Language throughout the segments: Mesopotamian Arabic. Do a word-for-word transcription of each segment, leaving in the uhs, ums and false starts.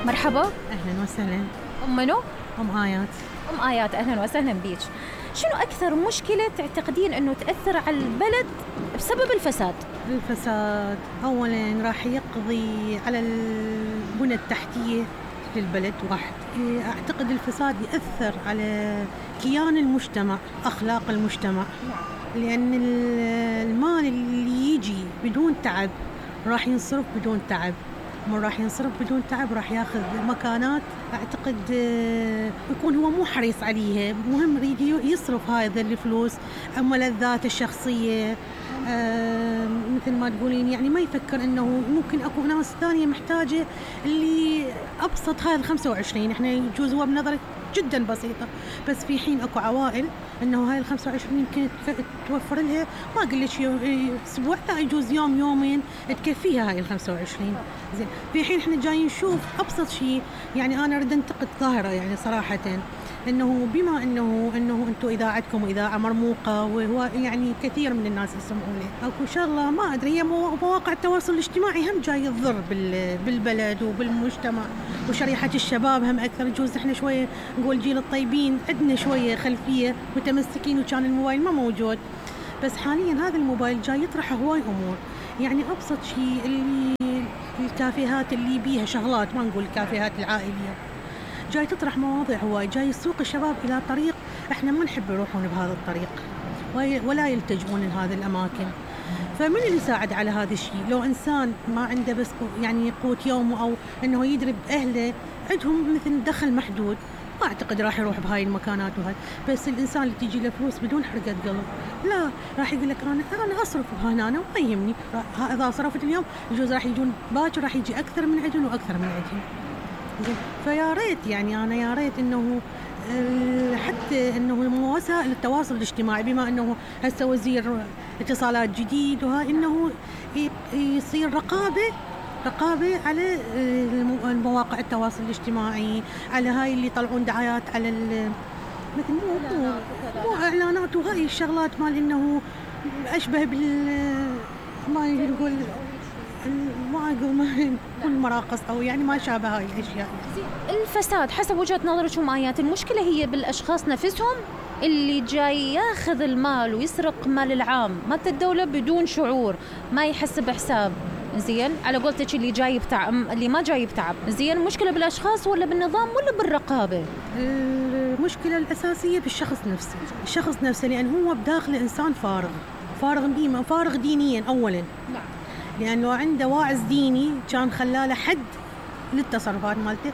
مرحبا. أهلا وسهلا. أم منو؟ أم آيات. أم آيات، أهلا وسهلا بيك. شنو أكثر مشكلة تعتقدين أنه تأثر على البلد بسبب الفساد؟ الفساد أولا راح يقضي على البنى التحتية للبلد واحد. أعتقد الفساد يأثر على كيان المجتمع، أخلاق المجتمع، لأن المال اللي يجي بدون تعب راح ينصرف بدون تعب، من راح ينصرف بدون تعب راح ياخذ مكانات أعتقد يكون هو مو حريص عليها، مهم يريد يصرف هذا الفلوس أما لذاته الشخصية. آه مثل ما تقولين يعني ما يفكر إنه ممكن أكو ناس ثانية محتاجة اللي أبسط هاي الخمسة وعشرين، إحنا يجوز هو بنظرك جدا بسيطة، بس في حين أكو عوائل إنه هاي الخمسة وعشرين يمكن توفر لها ما أقول لك أسبوع، لا يجوز يوم يومين تكفيها هاي الخمسة وعشرين. زين، في حين إحنا جايين نشوف أبسط شيء، يعني أنا أريد أنتقد ظاهرة يعني صراحة، إنه بما إنه إنه أنتم إذا عندكم إذاعة مرموقة وهو يعني كثير من الناس يسمعون لي أكو شغلة ما أدري، هي مواقع التواصل الاجتماعي هم جاي تضر بالبلد وبالمجتمع وشريحة الشباب هم أكثر. يجوز إحنا شوية نقول جيل الطيبين عندنا شوية خلفية متمسكين وكان الموبايل ما موجود، بس حاليا هذا الموبايل جاي يطرح هواي أمور. يعني أبسط شيء اللي الكافيهات اللي بيها شغلات، ما نقول الكافيهات العائلية، جاي تطرح مواضيع هواي، جاي يسوق الشباب إلى طريق إحنا ما نحب يروحون بهذا الطريق ولا يلتجؤون لهذه الأماكن. فمن اللي يساعد على هذا الشيء؟ لو إنسان ما عنده بس يعني قوت يومه أو إنه يدرب أهله عندهم مثل دخل محدود، ما أعتقد راح يروح بهاي المكانات وهاي. بس الإنسان اللي تيجي له فلوس بدون حرقة قلب لا، راح يقول لك أنا أنا أصرف هنا أنا ما يهمني، إذا صرفت اليوم يجوز راح يجون باكر راح يجي أكثر من عندهم وأكثر من عندهم. فيا ريت يعني أنا يا ريت إنه حتى إنه وسائل التواصل الاجتماعي بما إنه هسه وزير اتصالات جديد وها إنه يصير رقابة رقابة على المواقع التواصل الاجتماعي، على هاي اللي يطلعون دعايات على مثل مو مو, مو إعلانات وهاي الشغلات مال إنه أشبه بال ما نقول ما أقول ما كل مراقص أو يعني ما شابه هاي الأشياء. الفساد حسب وجهة نظرك ومآيات، المشكلة هي بالأشخاص نفسهم اللي جاي ياخذ المال ويسرق مال العام، مال الدولة بدون شعور، ما يحسب حساب. زين، على قولتك اللي جاي بتعب اللي ما جاي بتعب. زين، المشكلة بالأشخاص ولا بالنظام ولا بالرقابة؟ المشكلة الأساسية بالشخص نفسه، الشخص نفسه، لأن هو بداخله إنسان فارغ، فارغ ديما، فارغ دينيا أولا. نعم. لأنه عنده واعظ ديني كان خلاله حد للتصرفات مالته.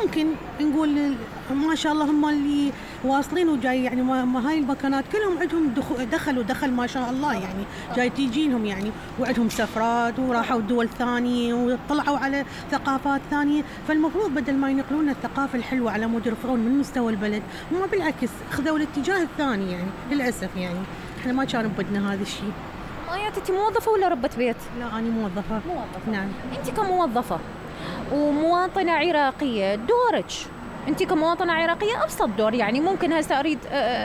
ممكن نقول ما شاء الله هم اللي واصلين وجاي يعني ما هاي المكانات كلهم عندهم دخل ودخل ما شاء الله، يعني جاي تيجي لهم يعني وعندهم سفرات وراحوا دول ثانية وطلعوا على ثقافات ثانية. فالمفروض بدل ما ينقلون الثقافة الحلوة على مود يرفعون من مستوى البلد، هم بالعكس خذوا الاتجاه الثاني. يعني للأسف يعني احنا ما كان بدنا هذا الشيء. آيات، أنت موظفة ولا ربة بيت؟ لا، أنا موظفة. موظفة. نعم. أنت كموظفة ومواطنة عراقية، دورك أنت كمواطنة عراقية أبسط دور. يعني ممكن هسه أريد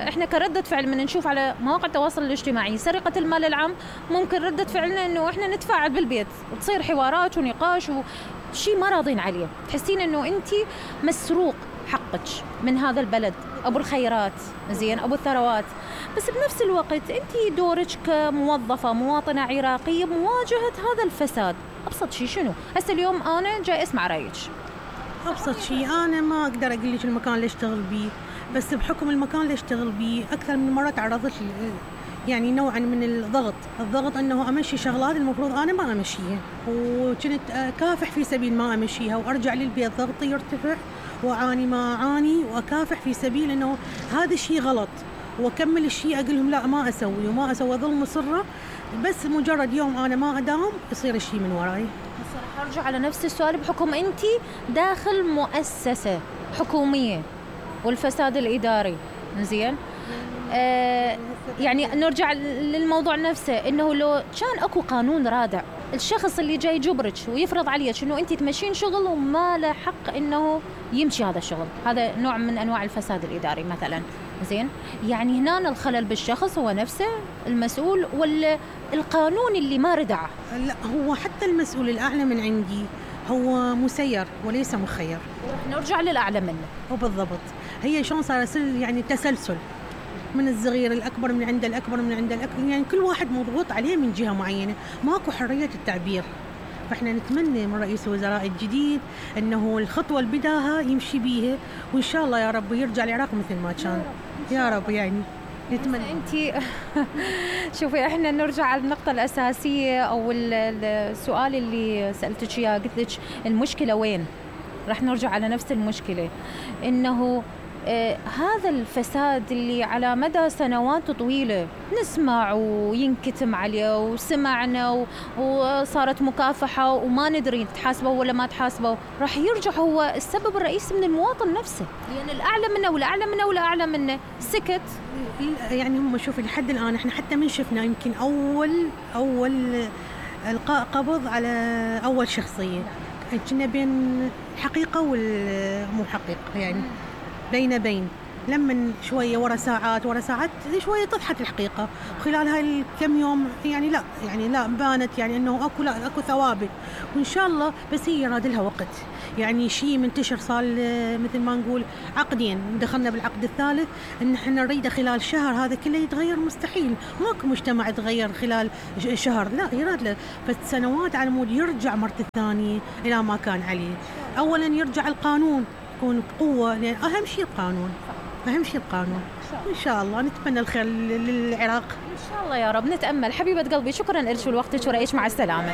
إحنا كردة فعل من نشوف على مواقع التواصل الاجتماعي سرقة المال العام، ممكن ردة فعلنا إنه إحنا نتفاعل بالبيت، تصير حوارات ونقاش وشي ما راضين عليه، تحسين إنه أنت مسروق حقك من هذا البلد، أبو الخيرات، زين، أبو الثروات. بس بنفس الوقت أنت دورك كموظفة مواطنة عراقية بمواجهة هذا الفساد، أبسط شيء شنو؟ هسه اليوم أنا جاي أسمع رأيك. أبسط شيء أنا ما أقدر أقول لك المكان اللي أشتغل بيه، بس بحكم المكان اللي أشتغل بيه أكثر من مرة تعرضت يعني نوعا من الضغط الضغط أنه أمشي شغلات المفروض أنا ما أمشيها، وكنت أكافح في سبيل ما أمشيها، وأرجع للبيت ضغطي يرتفع وأعاني ما أعاني وأكافح في سبيل أنه هذا الشيء غلط، وأكمل الشيء أقول لهم لا ما أسوي وما أسوي، ظل مصرة. بس مجرد يوم أنا ما أداوم يصير الشيء من وراي. هسه أرجع على نفس السؤال، بحكم أنت داخل مؤسسة حكومية والفساد الإداري، زين، آه يعني نرجع للموضوع نفسه، إنه لو كان أكو قانون رادع، الشخص اللي جاي يجبرك ويفرض عليك إنه أنت تمشين شغل وما له حق إنه يمشي هذا الشغل، هذا نوع من أنواع الفساد الإداري مثلاً. زين، يعني هنا الخلل بالشخص هو نفسه المسؤول ولا القانون اللي ما ردعه؟ لا، هو حتى المسؤول الأعلى من عندي هو مسير وليس مخير. نرجع للأعلى منه. وبالضبط هي شلون صار يعني تسلسل من الصغير الأكبر، من عند الأكبر من عند الأكبر، يعني كل واحد مضغوط عليه من جهة معينة، ماكو حرية التعبير. فإحنا نتمنى من رئيس الوزراء الجديد أنه الخطوة اللي بداها يمشي بيها، وإن شاء الله يا رب يرجع العراق مثل ما كان. يا رب يعني نتمنى. انت شوفي احنا نرجع على النقطة الأساسية أو السؤال اللي سألتك إياه، قلت لك المشكلة وين؟ راح نرجع على نفس المشكلة، إنه آه هذا الفساد اللي على مدى سنوات طويلة نسمع وينكتم عليه وسمعنا وصارت مكافحة وما ندري تحاسبوا ولا ما تحاسبوا، راح يرجع هو السبب الرئيسي من المواطن نفسه، لأن يعني الأعلى منه والأعلى منه والأعلى منه سكت. يعني هم شوفي لحد الآن احنا حتى من شفنا يمكن أول أول إلقاء قبض على أول شخصية، كنا بين حقيقة والمو حقيقة، يعني بين بين لما شوية ورا ساعات ورا ساعات شوية طفحت الحقيقة، وخلال هاي الكم يوم يعني لا يعني لا بانت يعني انه اكو لا اكو ثوابت، وان شاء الله بس هي يراد لها وقت، يعني شيء منتشر صار مثل ما نقول عقدين، دخلنا بالعقد الثالث ان احنا نريده خلال شهر هذا كله يتغير، مستحيل، ماكو مجتمع يتغير خلال شهر، لا يراد له فسنوات على مود يرجع مرة ثانية الى ما كان عليه. اولا يرجع القانون يكون بقوة، لأن أهم شيء القانون، أهم شيء القانون. إن شاء الله نتمنى الخير للعراق إن شاء الله يا رب. نتأمل. حبيبة قلبي شكرا لك ولوقتك ورأيك، مع السلامة.